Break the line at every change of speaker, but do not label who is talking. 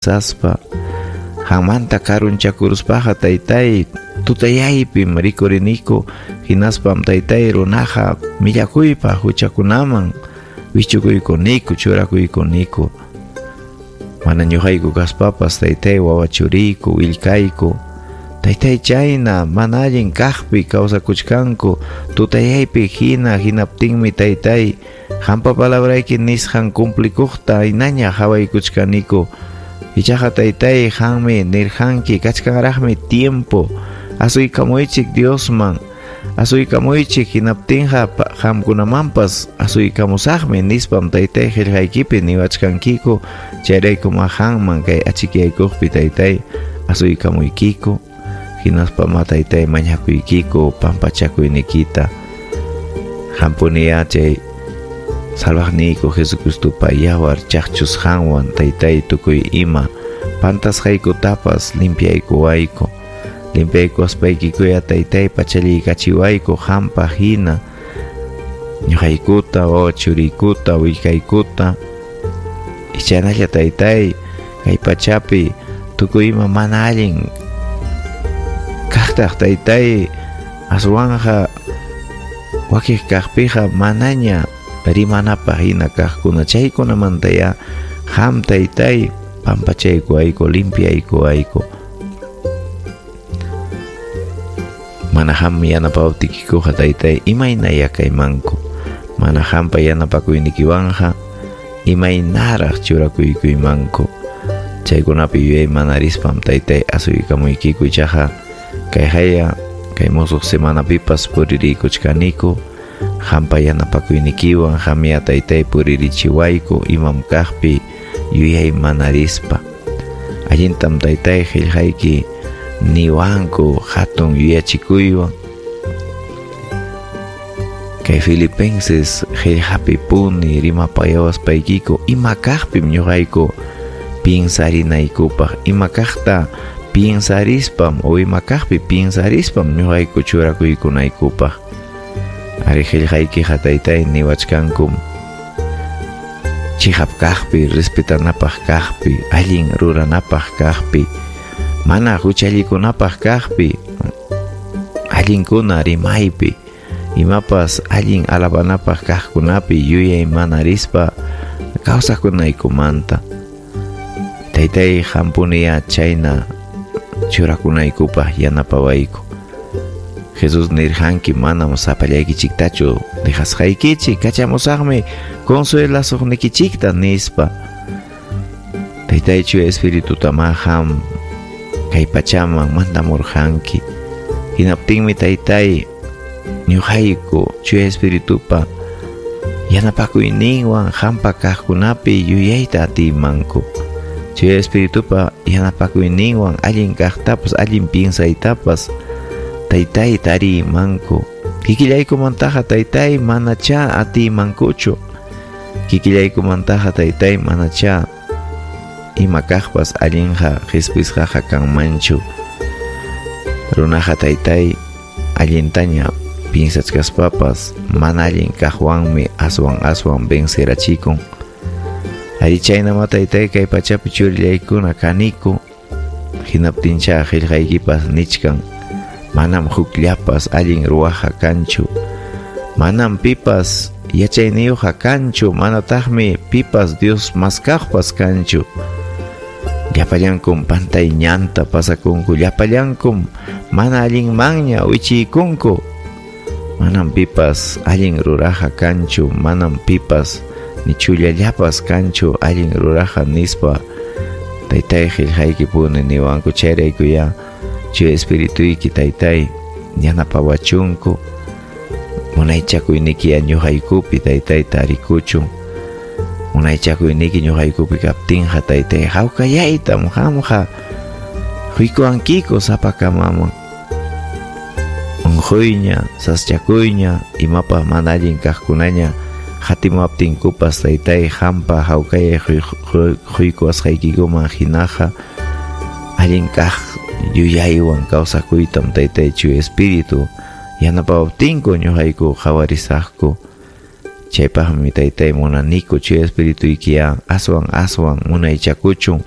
Saspa qanmanta karunchakuruspaqa taytay tutayaypim rikuriniku, hinaspam taytay runaqa millakuypaq huchakunaman wichukuykuniku, churakuykunniku. Mana ñuqayku kaspapas taytay wawa churiyku, willkayku, taytay chayna mana allin kaqpi kawsakuchkanku, tutayaypi hina hinaptinmi taytay qampa palabrayki nisqan cumplikuqta hinaña qawaykuchkaniku. Ichaqa taytay qanmi nirqanki kachkanraqmi tiempo, asuykamuychik Diosman, asuykamuychik hinaptinqa qamkunamanpas asuykamusaqmi nispam taytay qillqaykipi niwachkankiku, chayraykum qanman kay achikyaykuqpi taytay asuykamuykiku, hinaspa ma taytay mañakuykiku pampachakuynikita. Qampuniya chay salvaqniyku Jesucristopa yawar chaqchusqanwan taytay tukuy ima pantasqaykutapas limpiaykuwayku. Limpiaykuwaspayki taytay pachallaykachiwayku qampa hina ñuqaykuta wawa churiykuta willkaykuta. Ichanalla taytay kay pachapi tukuy ima mana allin kaqtaq taytay aswanja wakiq kaqpiqa manaña rimanapaq hina kaqkuna chaykunamantaya qam taytay pampachaykuwayku, limpiaykuwayku. Mana qam yanapawtikikuqa taytay imaynaya kaymanku, mana qampa yanapakuynikiwanqa imaynaraq churakuykuymanku. Chaykunapi yuyay manarispam taytay asuykamuykiku, ichaqa kay haya kay musuq semanapipas puririykuchkaniku qampa yanapakuynikiwan qamya taytay puririchiwayku imam kaqpi yuyay manarispa. Allintam taytay qillqayki niwanku hatun yuyachikuywan. Kay Filipenses qillqapi puni rimapayawaspaykiku ima kaqpim ñuqayku piensarinaykupaq, ima kaqta piensarispam o ima kaqpi piensarispam ñuqayku churakuykunaykupaq. Ari qillqaykiqa taytay niwachkankum chiqap kaqpi, respetanapaq kaqpi, allin ruranapaq kaqpi, mana huchallikunapaq kaqpi, allinkuna rimaypi, imapas allin alabanapaq kaqkunapi yuyay manarispa kawsakunaykumanta. Taytay qampuniya chayna churakunaykupaq yanapawayku. Jesús nirqanki manam sapallaykichiktachu dejasqaykichik, kachamusaqmi consuelasuqnikichikta nispa. Taytay Chuya Espirituta qam kay pachaman mandamurqanki. Hinaptinmi taytay ñuqayku Chuya Espiritupa yanapakuyninwan qampa kaqkunapi yuyayta atiymanku. Chuya Espiritupa yanapakuyninwan allin kaqtapas allin piensaytapas taytay tariymanku. Kikillaykumantaqa taytay manacha atiymankuchu. Kikillaykumantaqa taytay manacha ima kaqpas allinqa qhispisqaqa kanmanchu. Runaqa taytay allintaña piensachkaspapas mana allin kaqwanmi aswan aswan vencerachikun. Ari chaynama taytay kay pachapi churillaykuna kaniku. Hinaptincha qillqaykipas nichkan manam hukllapas allin ruwaqa kanchu, manam pipas yachayniyuqqa kanchu, manataqmi pipas Dios maskaqpas kanchu. Llapallankum pantay ñanta pasakunku, llapallankum mana allinmanña wichiykunku. Manam pipas allin ruraqa kanchu, manam pipas ni chullallapas kanchu allin ruraqa nispa taytay qillqaykipuni niwanku. Chayraykuya Chuya Espirituyki taytay yanapawachunku, munaychakuynikiya ñuqaykupi taytay tarikuchun. Munaychakuyniki ñuqaykupi kaptinqa taytay hawkayaytam qamqa huykuwankiku sapakamaman. Unquyña, saschakuyña, imapaq mana allin kaqkunaña hatimuwaptinkupas taytay qampa hawkayay huykuwasqaykikuman hinaqa allin kaq yuyaywan kawsakuytam taytay Chuya Espíritu yanapawaptinku ñuqayku qawarisaqku. Chaypaqmi taytay munaniku Chuya Espirituykiya aswan aswan munaychakuchun